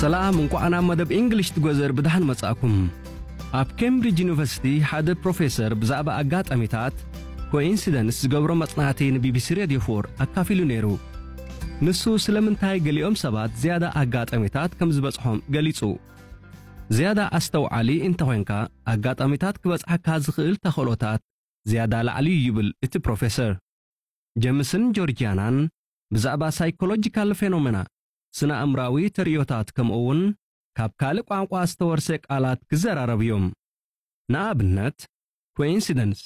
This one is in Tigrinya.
ሰላም፣ እንቋዕ ናብ መደብ እንግሊሽ ትጎዘር ብድሓን መጻእኩም። ኣብ ኬምብሪጅ ዩኒቨርሲቲ ሓደ ፕሮፌሰር ብዛዕባ ኣጋጣሚታት፣ ኮይንሲደንስ፣ ዝገብሮ መጽናዕቲ ንቢቢሲ ሬድዮ ፎር ኣካፊሉ ነይሩ። ንሱ ስለምንታይ ገሊኦም ሰባት ዝያዳ ኣጋጣሚታት ከም ዝበጽሖም ገሊጹ። ዝያዳ ኣስተውዓሊ እንተኾይንካ፣ ኣጋጣሚታት ክበጽሓካ ዝኽእል ተኽእሎታት ዝያዳ ላዕሊ እዩ ይብል እቲ ፕሮፌሰር። ጀምስን ጆርጂያናን ብዛዕባ ሳይኮሎጂካል ፌኖሜና፣ ስነ ኣእምራዊ ተርእዮታት፣ ከምኡ እውን ካብ ካልእ ቋንቋ ዝተወርሰ ቃላት ክዘራረቡ እዮም። ንኣብነት፣ ኮይንሲደንስ፣